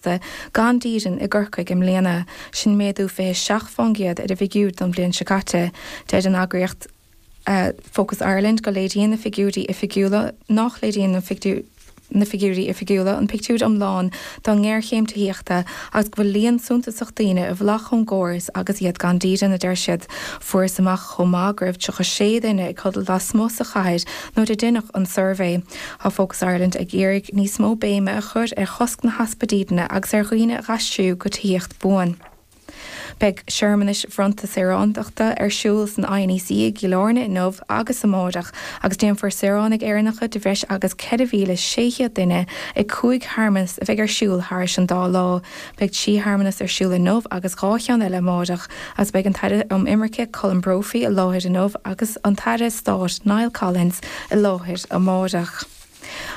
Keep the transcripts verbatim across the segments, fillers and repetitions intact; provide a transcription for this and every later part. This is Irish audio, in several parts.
Gan dídean i gCorcaigh i mbliana, sin méadú fiche seacht faoin gcéad ar an bhfigiúr don bhliain seo caite. Deir an eagraíocht Focus Ireland go léiríonn na figiúirí oifigiúla nach léiríonn na na figiúirí oifigiúla an pictiúr iomlán den ngéarchéim tithíochta agus go bhfuil líon suntasach daoine i bhfolach ón gcóras agus iad gan dídean, a deir siad. Fuarthas amach chomh maith go raibh tríocha sé duine ag codladh lasmuigh sa chathair nuair a deineadh an suirbhé. Tá Focus Ireland ag iarraidh níos mó béime a chur ar chosc na heaspa dídine agus ar dhaoine a aistriú go tithíocht buan. Beidh searmanais bhronnta saoránachta ar siúl san I N E C i gCill Airne inniu agus amárach agus déanfar saoránaigh Éireannacha de bhreis agus ceithre mhíle sé chéad duine ag cúig shearmanas a bheidh ar siúl thairis an dá lá. Beidh trí shearmanas ar siúl inniu agus dhá cheann eile amárach agus beidh an tAire um Imirce Colm Brophy i láthair inniu agus an tAire Stáit Niall Collins i láthair amárach.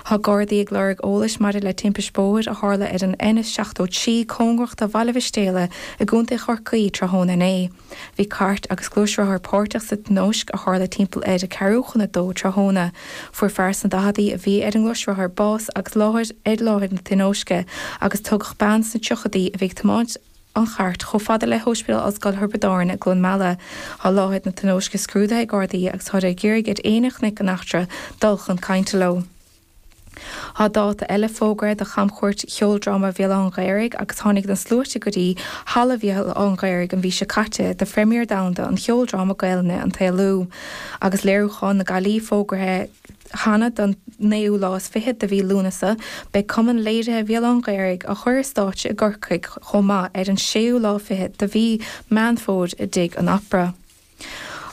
Tá Gardaí ag lorg eolais maidir le timpiste bóthair a tharla ar an N seachtó trí cóngarach do Bhaile Mhistéala i gContae Chorcaí tráthnóna inné. Bhí cairt agus gluaisrothar páirteach sa tionóisc a tharla timpeall ar a ceathrú chun a dó tráthnóna. Fuair fear sna daicheadaí a bhí ar an ngluaisrothar bás agus láthair ar láthair na tionóisce agus tugadh bean sna tríochaidí a bhí ag tiomáint an chairt chomh fada le hOspidéal Ollscoile Thiobraid Árann i gCluain Meala. Tá láthair na tionóisce scrúdaithe ag Gardaí agus tá ag iarraidh ar éinne a chonaic an eachtra dul chun cainte leo. Tá dáta eile fógartha do chamchuairt cheoldráma Bhéal Átha an Ghaorthaidh agus tháinig na sluaite go dtí Halla Bhéal Átha an Ghaorthaidh an mhí seo caite do phréimír domhanda an cheoldráma Gaelainne An tSaolú. Agus léiriúchán na Gailí fógartha cheana don naoú lá is fiche de mhí Lúnasa, beidh cumann léirithe Bhéal Átha an Ghaorthaidh á chur ar stáitse i gCorcaigh chomh maith ar an séú lá fiche de mhí Meán Fómhair i dTigh an Opera.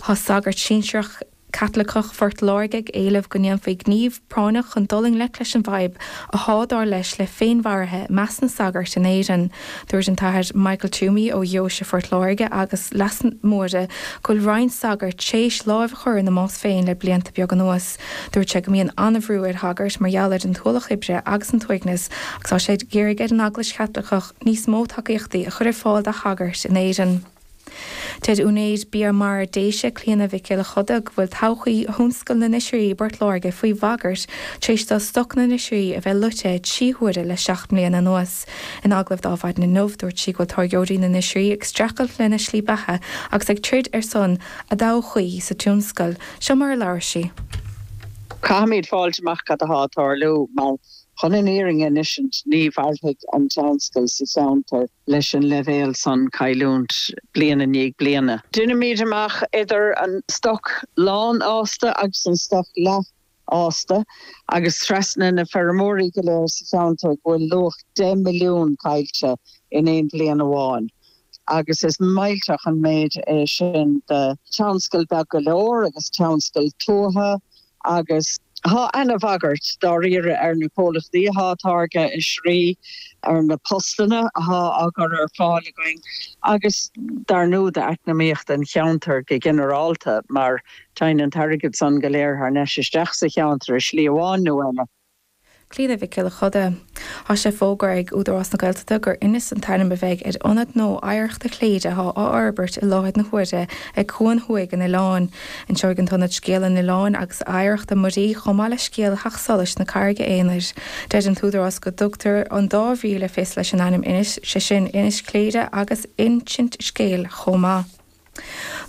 Tá sagart sinsearach Caitliceach Phort Láirge ag éileamh go ndéanfaí gníomh práinneach chun dul i ngleic leis an bhfadhb atá dar leis le féinmharuithe i measc na sagart in Éirinn. Dúirt an tAthair Michael Toomey ó Dheoise Phort Láirge agus Leitir Móir go bhfuil roinnt sagart tar éis lámh a chur ina mbás féin le blianta beaga anuas. Dúirt sé go mbíonn an-bhrú ar shagairt mar gheall ar an t-ualach oibre agus an t-uaigneas agus tá sé ag iarraidh ar an Eaglais Chaitliceach níos mó tacaíochtaí a chur ar fáil do shagairt in Éirinn. Deir úinéir Bia Mara Déise Clíona Mhic Giolla Choda go bhfuil todhchaí thionscal na n-oisrí i bPort Láirge faoi bhagairt tar éis do stoc na n-oisrí a bheith loite trí huaire le seacht mbliana anuas. In agallamh do Adhmhaidin inniu dúirt sí go bhfuil táirgeoirí na n-oisrí ag streachailt lena slí beatha agus ag troid ar son a dtodhchaí sa tionscal. Seo mar a labhair sí. Caithfimid fáil amach cad atá ag tarlú mar chun an fhírinne a insint ní mhairfidh an tionscal sa cheantar leis an leibhéal san cailliúint bliain i ndiaidh bliana. Déanaimid amach idir an stoc lánfhásta agus an stoc leathfhásta agus trasna na feirmeoirí go léir sa cheantar go bhfuil luach deich milliún caillte in aon bhliain amháin. Agus is millteach an méid é sin de tionscal beag go leor agus tionscal tuaithe agus Tá an-bhagairt dáiríre ar na comhlachtaí atá ag táirgeadh oisrí ar na postanna atá á gcur ar fáil againn agus dar ndóigh d'eacnamaíocht an cheantair go ginearálta mar téann an t-airgead san go léir thar n-ais isteach sa cheantar i slí amháin nó eile. Clíona Mhic Giolla Choda. Tá sé fógartha ag Údarás na Gaeltachta gur Inis an t-ainm a bheidh ar ionad nua oidhreachta Chléire atá á fhorbairt i láthair na huaire ag Cuan Thuaidh an Oileáin. Inseoidh an t-ionad scéal an oileáin agus oidhreachta muirí chomh maith le scéal theacht solais na Carraige Aonair. Deir an tÚdarás go dtugtar an dá bhrí le fios leis an ainm Inis, sé sin Inis Chléire agus insint scéil chomh maith.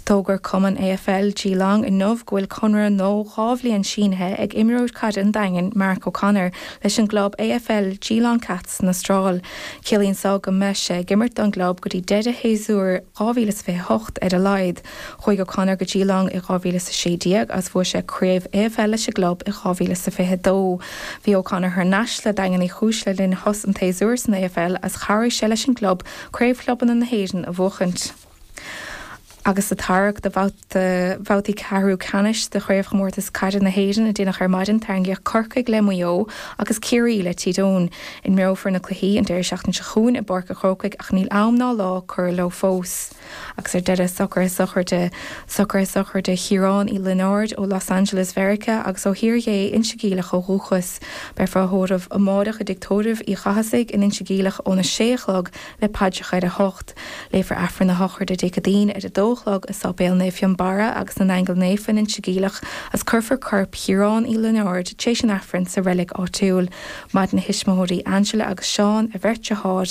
D'fhógair Cumann A F L Geelong inniu go bhfuil conradh nua dhá bhliain sínithe ag imreoir caide an Daingin Mark O'Connor leis an gclub A F L Geelong Cats san Astráil. Ciallaíonn seo go mbeidh sé ag imirt don gclub go dtí deireadh shéasúr dhá mhíle is fiche hocht ar a laghad. Chuaigh O'Connor go Geelong i dhá mhíle is a sé déag agus bhuaigh sé craobh A F L leis an gclub i dhá mhíle is a fiche dó. Bhí O'Connor thar n-ais le Daingean Uí Chúis le linn shos an tséasúir san A F L agus chabhraigh sé leis an gclub craobh chlubanna na hÉireann a bhuachaint. Agus sa tarrac do bhabhtaí ceathrú ceannais de chraobhchomórtas caide na hÉireann a déanach ar maidin tarraingíodh Corcaigh le Maigh Eo agus Ciarraí le Tír Eoghain. Imreofar na cluichí an deireadh seachtaine seo chugainn i bPáirc an Chrócaigh ach níl am ná lá curtha leo fós. Agus ar deireadh socruithe sochraide socruithe sochraide Chiaráin Uí Lionáird ó Los Angeles Mheiriceá agus ó Thír Dhé Inse Geimhleach ó dhúchas. Beifear á thórramh amárach i dtigh tórraimh Uí Chathasaigh in Inse Geimhleach óna sé a chlog le paidreacha ar a hocht. Léifear Aifreann na sochraide Dé Céadaoin ar a dó dó a chlog i Sáipéal Naomh Fionnbarra agus na nAingeal Naofa in Inse Geimhleach agus cuirfear corp Chiaráin Uí Lionáird tar éis an Aifrinn sa reilig áitiúil. Maireann a thuismitheoirí Angela agus Seán, a bheirt deartháir